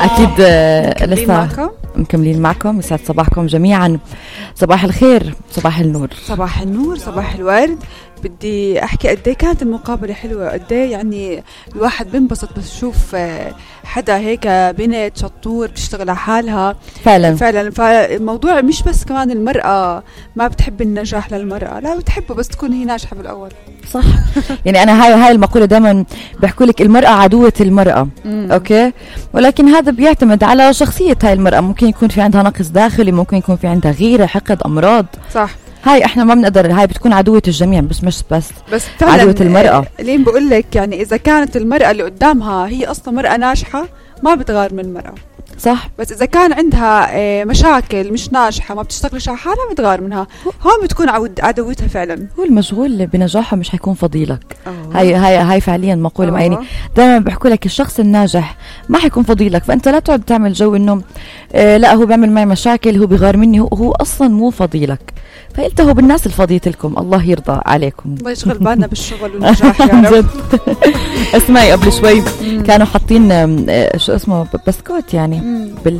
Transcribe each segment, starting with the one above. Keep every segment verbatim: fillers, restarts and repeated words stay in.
أكيد لسه مكملين معكم. يسعد صباحكم جميعا. صباح الخير، صباح النور، صباح النور، صباح الورد. بدي أحكي قديه كانت المقابلة حلوة، قديه يعني الواحد بنبسط بس يشوف حدا هيك بنت شطور بتشتغل على حالها فعلا فعلا. فالموضوع مش بس كمان المرأة ما بتحب النجاح للمرأة، لا بتحبه بس تكون هي ناجحة بالأول. صح. يعني أنا هاي هاي المقولة دائما بحكوا لك المرأة عدوة المرأة. مم. أوكي، ولكن هذا بيعتمد على شخصية هاي المرأة. ممكن يكون في عندها نقص داخلي، ممكن يكون في عندها غيرة، حقد، أمراض. صح. هاي احنا ما بنقدر، هاي بتكون عدوة الجميع مش مش بس بس عدوة المرأة. لين بقول لك يعني إذا كانت المرأة اللي قدامها هي أصلا مرأة ناجحة ما بتغار من المرأة. صح. بس إذا كان عندها مشاكل مش ناجحة ما بتشتغلش على حالها بتغار منها، هون بتكون عدوتها فعلا. هو المشغول بنجاحه مش حيكون فضيلك. أوه. هاي هاي هاي فعليا مقولة معينة. دائما بحكوا لك الشخص الناجح ما حيكون فضيلك، فأنت لا تقعد تعمل جو إنه آه لا هو بيعمل معي مشاكل، هو بيغار مني، هو, هو أصلا مو فضيلك. فالتهوا بالناس الفضية لكم، الله يرضى عليكم. الله يشغل بالنا بالشغل والنجاح يا رب. اسمعي قبل شوي كانوا حاطين شو اسمه بسكوت يعني بال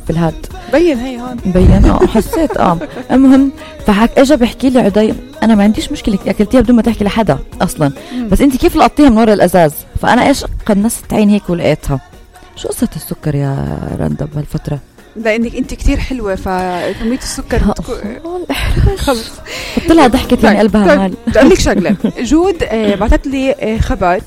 بالهاد بين هي هون بين اه حسيت اه المهم فحك اجى بحكي لي عدي انا ما عنديش مشكله اكلتيها بدون ما تحكي لحدا اصلا، بس انت كيف لقطتيها من ورا الازاز؟ فانا ايش قنصت عين هيك ولقيتها. شو قصه السكر يا رندا بهالفتره؟ لانك انت كتير حلوه فكميه السكر بتكون خلص حط لها ضحكه من قلبها مال. بدي اقول لك شغله. جود آه بعثت لي آه خبر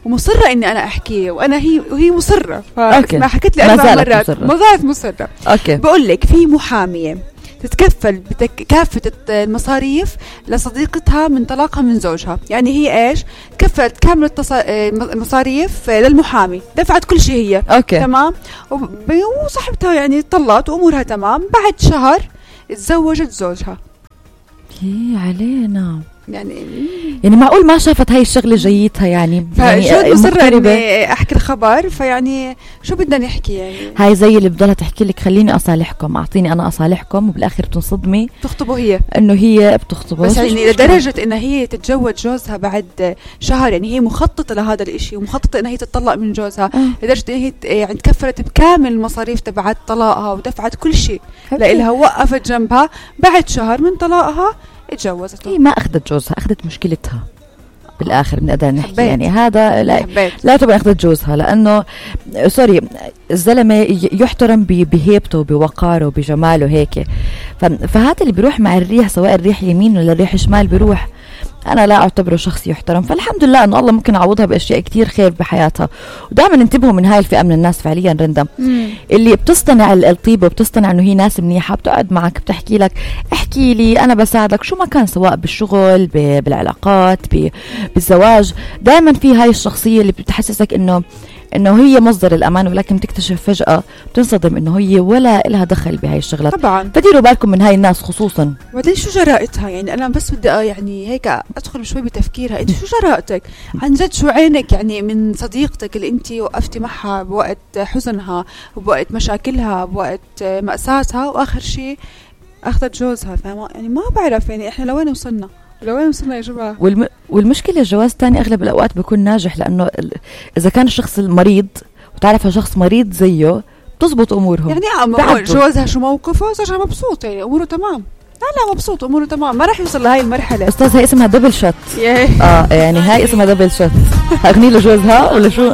ومصره اني انا احكيه وانا هي وهي مصره، ما حكيت لي اربع مرات ما زالت مصره. اوكي بقول لك في محاميه تتكفل بكافة المصاريف لصديقتها من طلاقها من زوجها. يعني هي ايش تكفلت كامل المصاريف للمحامي، دفعت كل شيء هي. أوكي. تمام. وصاحبتها يعني طلقت وامورها تمام. بعد شهر تزوجت زوجها. ايه علينا يعني يعني معقول ما شافت هاي الشغله جيتها يعني. يعني مصرة اني احكي الخبر، فيعني شو بدنا نحكي يعني. هاي زي اللي بضلها تحكي لك خليني اصالحكم، اعطيني انا اصالحكم، وبالاخر بتنصدمي تخطبه هي انه هي بتخطبه. بس يعني لدرجه انها هي تتزوج جوزها بعد شهر. يعني هي مخططه لهذا الاشي ومخططه انها هي تطلق من جوزها. آه. لدرجه انها هي يعني تكفلت بكامل المصاريف تبعت طلاقها ودفعت كل شيء لإلها، وقفت جنبها. بعد شهر من طلاقها اتجوزته. هي ما اخذت جوزها، اخذت مشكلتها بالاخر. بنقدر نحكي حبيت. يعني هذا لا حبيت. لا تبقى اخذت جوزها، لانه سوري الزلمه يحترم بهيبته وبوقاره وبجماله هيك. فهذا اللي بيروح مع الريح، سواء الريح يمين ولا الريح شمال بيروح. أنا لا أعتبره شخص يحترم. فالحمد لله أنه الله ممكن يعوضها بأشياء كتير خير بحياتها. ودائما انتبهوا من هاي الفئة من الناس فعليا رندا، اللي بتصطنع الطيبة وبتصطنع أنه هي ناس منيحة، بتقعد معك بتحكي لك احكي لي أنا بساعدك شو ما كان، سواء بالشغل بالعلاقات بالزواج. دائما في هاي الشخصية اللي بتحسسك أنه انه هي مصدر الامان، ولكن تكتشف فجأة بتنصدم انه هي ولا لها دخل بهاي الشغلات. طبعا فديروا بالكم من هاي الناس خصوصا. وبعدين شو جرائتها؟ يعني انا بس بدي يعني هيك ادخل شوي بتفكيرها. انت شو جرأتك عن جد؟ شو عينك يعني من صديقتك اللي انت وقفتي معها بوقت حزنها وبوقت مشاكلها بوقت مأساتها، واخر شيء اخذت جوزها؟ فما يعني ما بعرف يعني احنا لوين وصلنا لوين وصلنا يا جماعه. والم... والمشكله الجواز تاني اغلب الاوقات بيكون ناجح، لانه اذا كان الشخص المريض وتعرفها شخص مريض زيه بتزبط امورهم. يعني جوازها شو موقفه؟ زوجها مبسوط يعني اموره تمام. لا لا مبسوط اموره تمام، ما راح يوصل لهي المرحله. استاذ هاي اسمها دبل شوت. اه يعني هاي اسمها دبل شوت. اغني له جوزها ولا شو؟